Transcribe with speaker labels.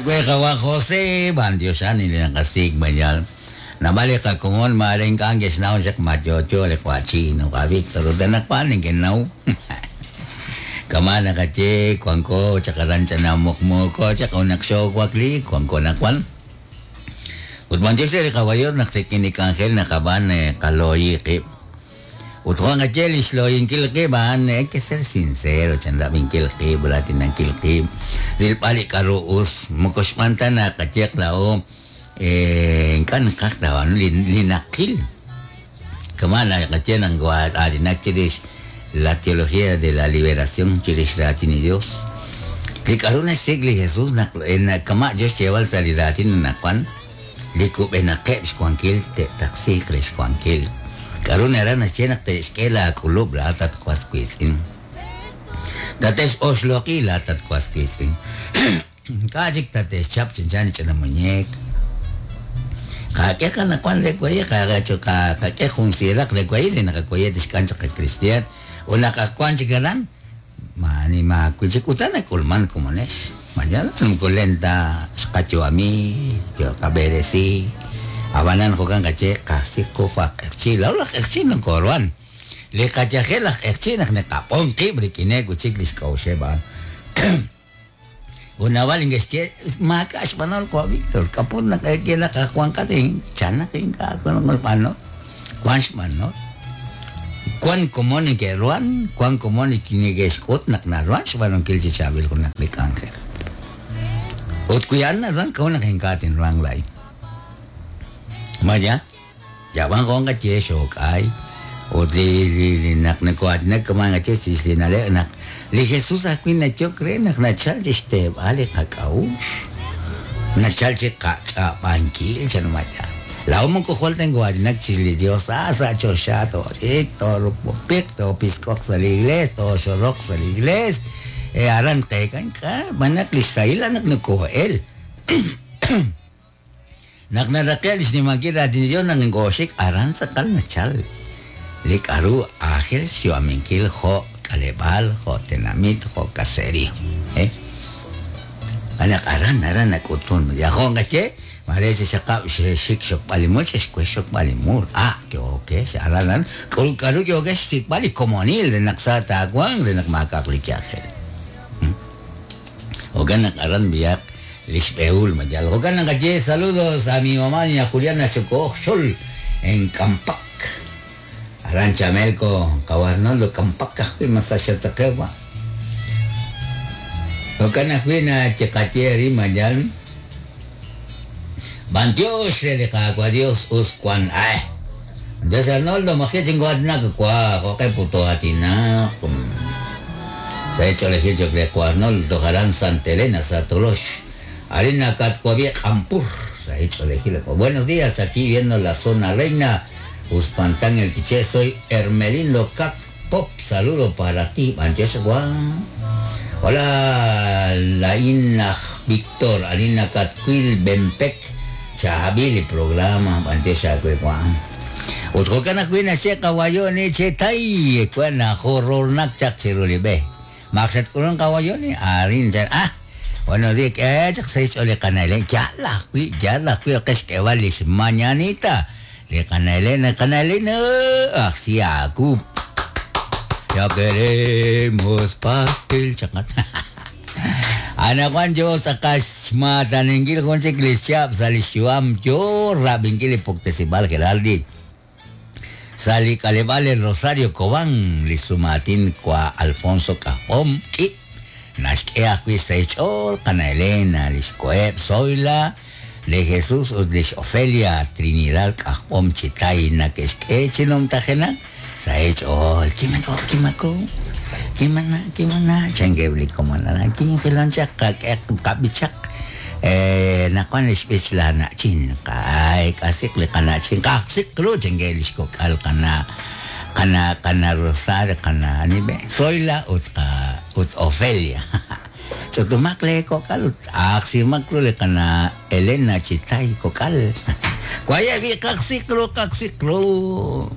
Speaker 1: Qawa José, b'antioxan li naqasik' mayal. Naab'al li qakomon maare ink'a' neke'xnaw chaq ma yo'yo li qawa' Chino, qawa' Víctor, ut anaqwan neke'naw. Kama' naqaye wanko chaq aran ch'ina muqmuuko chaq ut naq xoowakliik wanko anaqwan. Ut b'antiox re li Qawa' Dios naq rik'in li k'anjel naqab'aan qalooyi qib'. Ut jo' naqaye li xlooyinkil qib' a'an hay que ser sincero chan rab'inkil qib', raatinankil qib', rilb'al li k'a'ru us, moko xb'aan ta naqayeq laa'o ink'a' naqaj taab'aanu li naqil. Kama' naqaye naq nokoo'aatinak chirix la teología de la liberación chirix raatin li Dios. Li k'a'ru naxsik' li Jesús naq kama' yo xyeeb'al sa' li raatin anaqwan, li kub'enaqeb' xwankil te'taqsiiq re xwankil. K'a'ru naraj naxye naq te'xk'e laak'ulub' laa'at at was wiitz'in? Tate'x'oxloq'i laa'at at was wiitz'in. Ink'a' chik tate'xchap chanchan li ch'ina muñeek. Qak'e qanaqwan re waye', qak'e jun siiraq re waye' li naqawaye' tixk'am chaq qakristiaan. Ut naq ak wank chik aran, Maani maawi' chik utan nak'ulman komonex. Ma yaal moko len ta xqayu'ami, yo qab'eresi. Ab'anan jo'kan qaye qasik' qu jo' aj q'eqchi'. Laa'o laj q'eqchi' nokooruhan. Li qayajel laj q'eqchi' naq neqab'on qib' rik'ineb' wi' chik li xk'a'uxeb' a'an. Ut naab'al neke'xye, Maak'a' xb'anol jo' Víctor, k'a'ut naq ye naq aj wanqat chan naq ink'a' wank xb'anol? Wank xb'anol. Wank komon neke'ruhan, wank komon neke'xk'ut naq naruhan xb'aanunkil chi chaab'il junaq li k'anjel. Ut wi a'an naruhan, k'a'ut naq ink'a' tinruhanq laa'in? Ma yaal? Yab'an jo' nqaye xook'ay ut li li naq nokoo'aatinak kama' nqaye chirix li na'leb' naq li Jesús ajwi' nayok re naq nachalk chi xteeb'al li qak'a'uxl, nachalk chi qach'ab'ankil chan maya. Laa'o moko jwal ta nokoo'aatinak chirix li Yos, a sa' choxa tooxik, toorupupiq, toopisk'oq sa' li iglees, tooxoroq sa' li iglees, e aran tqeek'a ink'a' b'an naq li xsahil a'an naq nokoo'el. Naq naraqe' li xnimankil raatin li Dios naq nkooxik aran tz'aqal nachal li k'a'ru aajel xyu'aminkil jo' k'aleb'aal, jo' tenamit, jo' caserío. Xb'aan naq aran aran nak'utun. Jo' nqaye, maare xexaqab' xexik xokb'al li mul, xexwe xokb'al li mul. Ah, yookex aran aran k'aru k'aru yookex xsik'b'al li komonil re naq sa taawanq, re naq maak'a'aq li yajel. Jo'kan naq aran b'ihaq li xb'ehul ma yal. Jo'kan naq naqaye saludos a mi mamá doña Juliana Xoko'oj Xol en Kampak. Aran Chamelco qawa' Arnoldo Kampak ajwi' ma sa' xataqew wa'. Jo'kan ajwi' nachiqaye arin ma yal. B'antiox re li Qaawa' Dios us wan ae. Dios Arnoldo maji' chinko'aatinak wa jo'q'e put too'aatinaq. Sa' ch'oolejil cho'q re wa Arnoldo toj aran Santa Elena sa' Tolox. Arin nakatwab'i Q'ampur. Sa' ch'oolejil wa. Buenos días, aquí viendo la zona reina Uspantán el Quiché, soy Hermelindo Cac Pop, saludo para ti, b'antiox wa. Hola, laa'in aj Víctor, arin nakatwil Bempec, chaab'il li programa, b'antiox aawe wa. Ut jo'kan ajwi' naxye qawayoni che tay, wa najorornak chaq chiru li b'e. Maq xatk'ulunk qawayoni, arin chan, ah, bueno, di k'e chaq sa' xch'ool li qana' Elena, yaal ajwi', yaal ajwi' oqe xk'eeb'al lix mañanita. Li qana' Elena, qana' Elena, ajsi aawu. Ya queremos pastel chaqat. Anaqwan yo tz'aqal xmaataninkil jun chik li xchihab' sa' li xyu'am yo rab'inkil li puktesib'aal Geraldi. Sa' li k'aleb'aal El Rosario Cobán, li sumaatin wa Alfonso K'ajb'om k'i naxk'e ajwi' sa' xch'ool qana' Elena, li xkoheb' Zoila, Li Jesús ut li xOfelia Trinidad K'ajb'om chi tay nake'xk'e chi numtajenaq sa' eech'ool. Kimako, kimako, kimana, kimana, chankeb' li komon aran. Kinjilon chaq qak'e qab'ichaq naq wan li xb'ich la na'chin. Qa'eek'asiq li qana'chin, qajsiq ru chankeb' li xkok'al qana' qana' qana' Rosario, qana' ani be', Zoila ut qa ut Ofelia. Ch'utumaq lee kok'al ut aaqsimaq ru li qana' Elena chi tay kok'al. Waye' b'i' qaqsiq ru, qaqsiq ru.